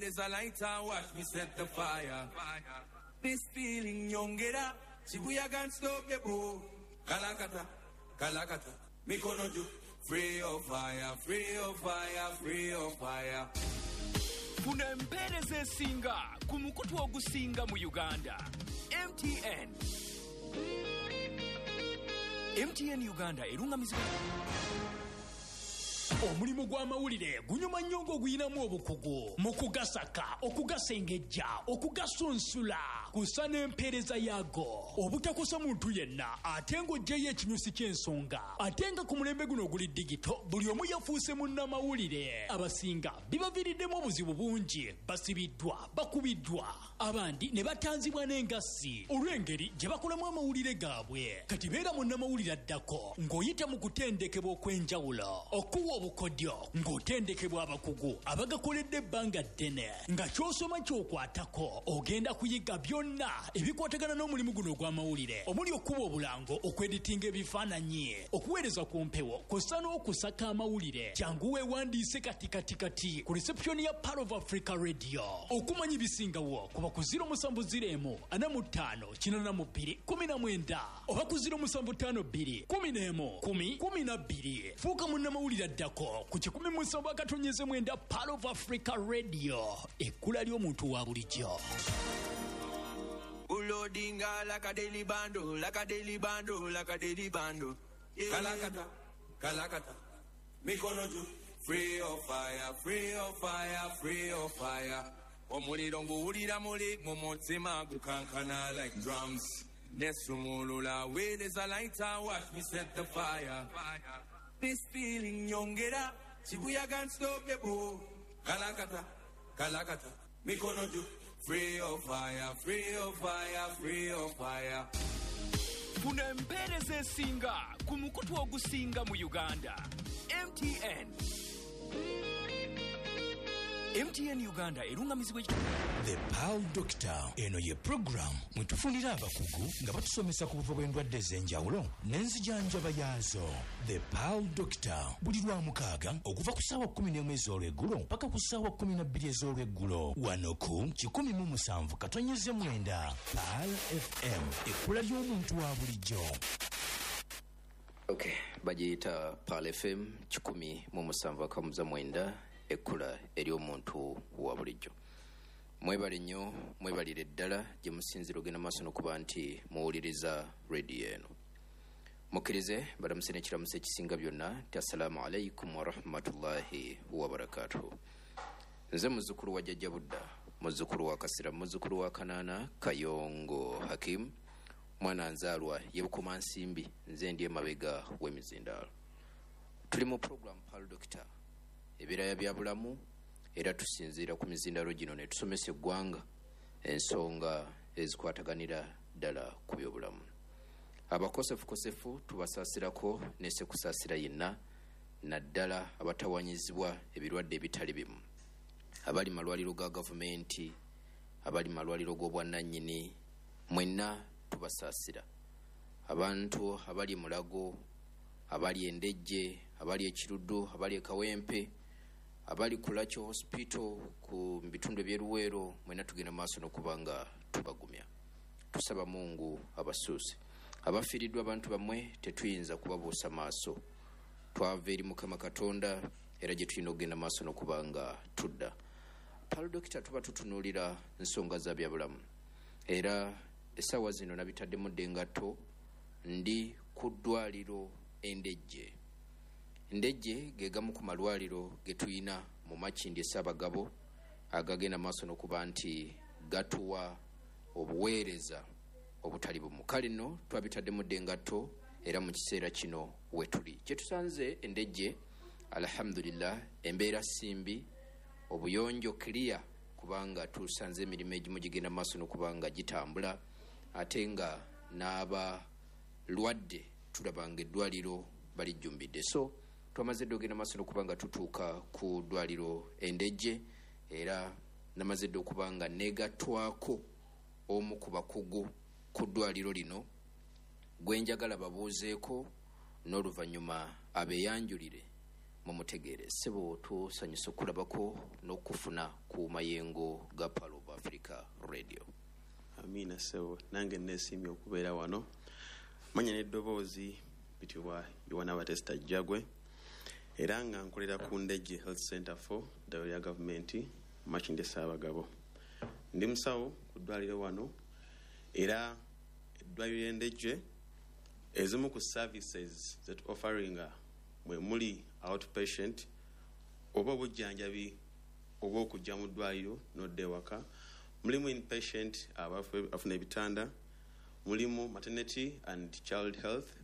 There's a lighter, watch me set the fire. This feeling nyongera, Shibuya can't stop the boo. Kalakata, kalakata, mikono juu. Free of fire, free of fire, free of fire. Funa empeereza esinga ku mukutu ogusinga mu Uganda. MTN. MTN Uganda erungamizibwa. Omulimu gw'amawulire gunyuma nnyo ng'oguyinamu obukugu mu kugasaka, okugasengejja, okugasunsula, kusa n'empeereza yaago, obutakosa muntu yenna, ate ng'oggyeyo ekinyusi ky'ensonga. Ate nga ku mulembe guno oguli digito, buli omu yafuuse munnamawulire. Abasinga bibaviiriddemu obuzibu bungi, basibiddwa, bakubiddwa, abandi ne batanzibwa n'engassi olw'engeri gye bakolamu amawulire gaabwe. Kati beera munnamawulire addako ng'oyita mu kutendekebwa okw'enjawulo, okuwa obukodyo ng'otendekebwa abakugu abagakoledde ebbanga ddene, nga ky'osoma ky'okwatako ogenda kuyiga byonna ebikwatagana n'omulimu guno ogw'amawulire, omuli okuba obulango, okweditinga ebifaananyi, okuweereza ku mpewo, kw'ossa n'okusaka amawulire. Jangu weewandiise kati kati kati ku reception ya Pearl of Africa Radio. Okumanya ebisingawo kuba ku 070 45 82 19 oba ku 0752 11 10 12. Fuuka munnamawulire addako ku 107.9 Pearl of Africa Radio, ekkula ly'omuntu wa bulijjo. Ulodinga like a daily bando, like a daily bando, like a daily bando. Yeah. Kalakata, kalakata, mikono juu. Free of fire, free of fire, free of fire. Omuliro nguwulira muli mu mutima gukankana like drums. Nesumulula where there's a lighter, watch me set the fire. This feeling nyongera, Shibuya can't stop the boo. Kalakata, kalakata, mikono juu. Free of fire, free of fire, free of fire. Funa empeereza esinga ku mukutu ogusinga mu Uganda. MTN. MTN Uganda erungamizibwa. The Pearl Doctor, eno ye program mwe tufunira abakugu nga batusomesa ku buvo bw'endwadde ez'enjawulo n'enzijanjaba yaazo. The Pearl Doctor buli lwa mukaaga okuva ku ssaawa 11 ez'olweggulo paka ku ssaawa 12 ez'olweggulo, wano ku 107.9 Pearl FM, ekkula ly'omuntu wa bulijjo. Okay, bagiyita Pearl FM 107.9, ekkula ery'omuntu wa bulijjo. Mwebale nnyo, mwebalire ddala gye musinzira ogenda maaso n'okuba nti muwuliriza rediyo eno. Mukkirize balamuse n'ekiramuso ekisinga byonna nti assalaamu alaikum warahmatullahi wabarakatuhu. Nze muzzukulu wa Jjajja Budda, muzzukulu wa Kasira, muzzukulu wa Kanaana Kayongo Hakim, mwana nzaalwa ye Bukomansimbi, nze ndi emabega w'emizindaalo. Tuli mu program Pearl Doctor, ebiraya bya bulamu, era tusinziira ku mizindaalo gino ne tusomesa eggwanga ensonga ezikwataganira ddala ku byobulamu. Abakosefukosefu tubasaasirako ne sekusaasira yenna, naddala abatawanyizibwa ebirwadde ebitali bimu, abali malwaliro ga gavumenti, abali malwaliro g'obwannannyini, mwenna tubasaasira. Abantu abali Mulago, abali Endejje, abali Ekiruddu, abali Ekawempe, abali ku Lakyo Hospital ku bitundu eby'Eruweero, mwenna tugenda maaso n'okuba nga tubagumya. Tusaba Mungu abasuuse. Abafiiriddwa abantu bammwe tetuyinza kubabuusa maaso. Twava eri Mukama Katonda era gye tulina okugenda maaso n'okuba nga tudda. Pearl Doctor tuba tutunuulira nsonga za byabulamu, era essaawa zino nabitaddemu dda engatto, ndi ku ddwaliro Endejje. Ndejje ge gamu ku malwaliro ge tuyina mu Makindye Ssaabagabo agagenda maaso n'okuba nti gatuwa obuweereza obutali bumu. Kale nno twabitaddemu dda engatto era mu kiseera kino we tuli. Kye tusanze Endejje, alhamdulillah, embeera simbi, obuyonjo clear, kubanga tusanze emirimu egimu gigenda maaso n'okuba nga gitambula, ate nga n'abalwadde tulabanga eddwaliro balijjumbidde. So twamaze dda ogenda maaso n'okuba nga tutuuka ku ddwaliro Endejje, era namaze dda okuba nga neegattwako omu ku bakugu ku ddwaliro lino gwe njagala babuuzeeko n'oluvannyuma abeeyanjulire Mumutegeere. Ssebo, tusanyusa okulabako n'okufuna ku mayengo ga Pearl of Africa Radio. Amiina ssebo, nange nesiimye okubeera wano. Manya n'eddoboozi bitibwa Yowana Batesta Jjagwe, era nga nkolera ku Ndejje Health Center 4, ddwaliro lya gavumenti Makindye Ssaabagabo. Ndi musawo ku ddwaliro wano, era eddwaliro ly'Endejje ezimu ku services zetu offeringa mwe muli outpatient oba obujjanjabi oba okujja mu ddwaliro n'odda ewaka, mulimu inpatient, abafuna ebitanda, mulimu maternity and child health.